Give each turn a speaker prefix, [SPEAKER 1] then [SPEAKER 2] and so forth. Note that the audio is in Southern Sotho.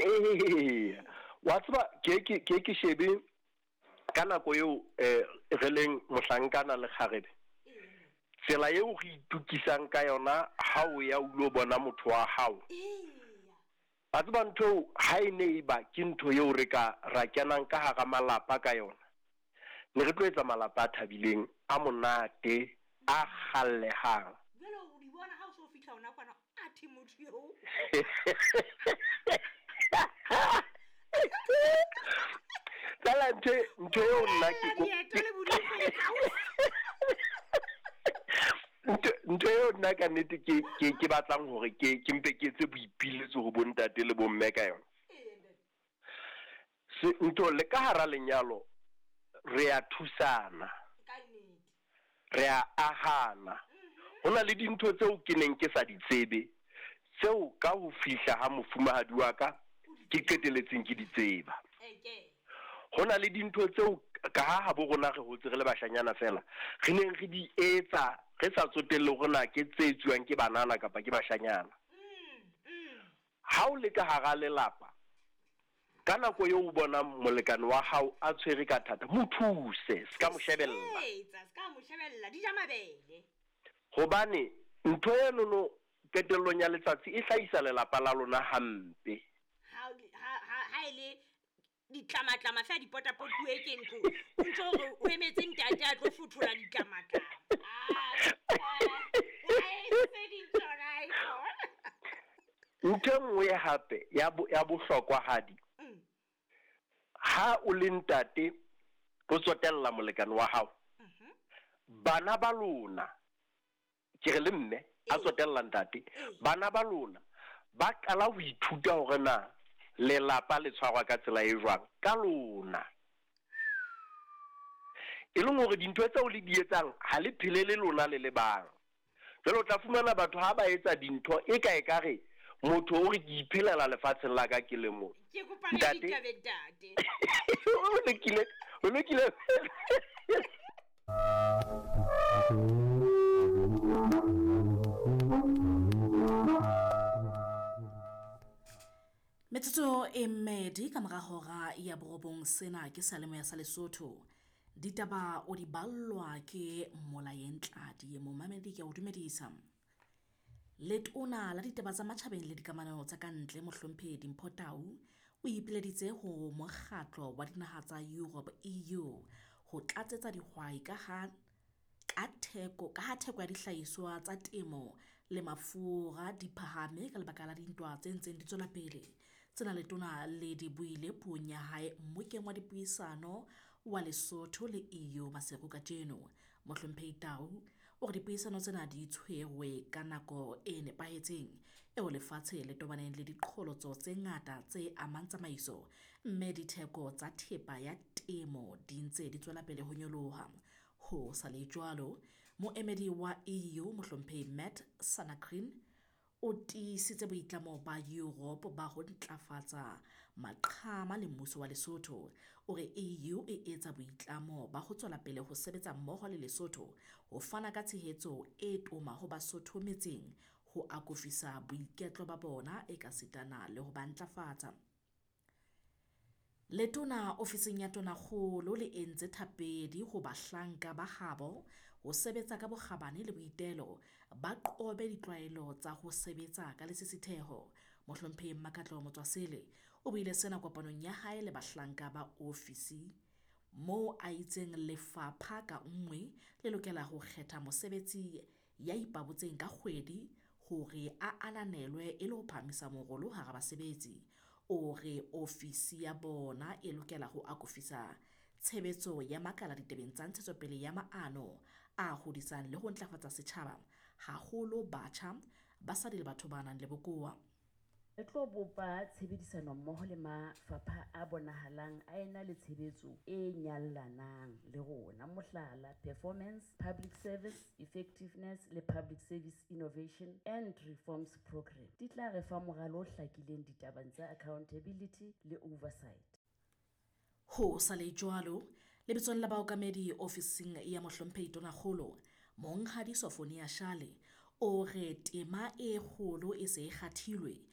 [SPEAKER 1] Ee, wa tseba ke shebe ka nako eo re leng mohlankana le kgarebe, tsela eo re itukisang ka yona ha o ya o lo bona motho wa hao. Wa tseba ntho eo ha e ne e ba ke ntho eo re ka ra kenang ka hara malapa ka yona, ne re tlo etsa malapa a thabileng, a monate, a kgallehang.
[SPEAKER 2] Jwale o di bona ha o so fihla hona kwana, athe motho eo.
[SPEAKER 1] Fela ntho eo nna ke
[SPEAKER 2] Dieta le bodikgwe.
[SPEAKER 1] Ntho eo nna ka nnete ke batlang hore ke mpe ke etse boipiletso ho bontate le bomme ka yona. Se ntho le ka hara lenyalo re a thusana, re a ahana. Ho na le dintho tseo ke neng ke sa di tsebe, tseo ka ho fihla ha mofumahadi wa ka ke qeteletseng ke di tseba. Ho na le dintho tseo ka ha bo rona re hotse re le bashanyana fela, re neng re di etsa re sa tsotelle hore na ke tse etsuwang ke banana kapa ke bashanyana. Ha o le ka hara lelapa, ka nako eo o bonang molekane wa hao a tshwere ka thata, mo thuse, se ka mo shebella.
[SPEAKER 2] Etsa, se ka mo shebella, di ja mabele.
[SPEAKER 1] Hobane ntho enono qetellong ya letsatsi e hlahisa lelapa la lona hampe.
[SPEAKER 2] Ha e le ditlamatlama fela di potapotuwe ke ntlo, o ntso hore o emetse ntate a tlo fothola ditlamatlama.
[SPEAKER 1] Ntho e nngwe hape ya bohlokwahadi, ha o le ntate o tsotella molekane wa hao, bana ba lona, ke re le mme a tsotella ntate, bana ba lona ba qala ho ithuta hore na lelapa le tshwarwa ka tsela e jwang ka lona. E leng hore dintho tseo le di etsang ha le phele le lona le le bang. Jwale o tla fumana batho ha ba etsa dintho e ka ekare motho o re ke iphelela lefatsheng la ka ke le mong.
[SPEAKER 2] Ke kopa le ditabe ntate.
[SPEAKER 1] O lokile, o lokile.
[SPEAKER 3] Metsotso e mmedi ka mora hora ya 9, sena ke Seyalemoya sa Lesotho. Ditaba o di ballwa ke Molayeng Tladi. Momamedi ke a o dumedisa. Letona la ditaba tsa matjhabeng le dikamano tsa ka ntle Mohlomphehi Dimpho Tau o ipileditse ho mokgatlo wa dinaha tsa Europe EU ho tlatsetsa dihwai ka ha theko ya dihlahiswa tsa temo le mafura di phahame ka lebaka la dintwa tse ntseng di tswela pele. Tsena letona le di buile puong ya hae mmokeng wa dipuisano wa Lesotho le EU Maseru kajeno. Mohlomphehi Tau o re dipuisano tsena di tshwerwe ka nako e nepahetseng eo lefatshe le tobaneng le diqholotso tse ngata tse amang tsamaiso, mme ditheko tsa thepa ya temo di ntse di tswela pele ho nyoloha. Ho sa le jwalo, moemedi wa EU Mohlomphehi Matt Sanakrin o tiisitse boitlamo ba Europe ba ho ntlafatsa maqhama le mmuso wa Lesotho. O re EU e etsa boitlamo ba ho tswela pele ho sebetsa mmoho le Lesotho ho fana ka tshehetso e toma ho Basotho metseng, ho akofisa boiketlo ba bona ekasitana le ho ba ntlafatsa. Letona ofising ya Tonakgolo le entse thapedi ho bahlanka ba habo ho sebetsa ka bokgabane le boitelo, ba qobe ditlwaelo tsa ho sebetsa ka lesisitheho. Mohlomphehi Mmakatleho Motswasele o buile sena kopanong ya hae le bahlanka ba ofisi moo a itseng lefapha ka nngwe le lokela ho kgetha mosebetsi ya ipabotseng ka kgwedi hore a ananelwe e le ho phahamisa morolo hara basebetsi. O re ofisi ya bona e lokela ho akofisa tshebetso ya makala ditabeng tsa ntshetsopele ya maano a hodisang le ho ntlafatsa setjhaba, haholo batjha, basadi le batho ba nang le bokowa.
[SPEAKER 4] Re tlo bopa tshebedisano mmoho le mafapha a bonahalang a ena le tshebetso e nyallanang le rona, mohlala, Performance, Public Service Effectiveness le Public Service Innovation and Reforms Programme di tla re fa moralo o hlakileng ditabeng tsa accountability le oversight.
[SPEAKER 3] Ho sa le jwalo, lebitsong la baokamedi ofising ya Mohlomphehi Tonakgolo, Monghadi Sofonia Shale o re tema e kgolo e se e kgathilwe.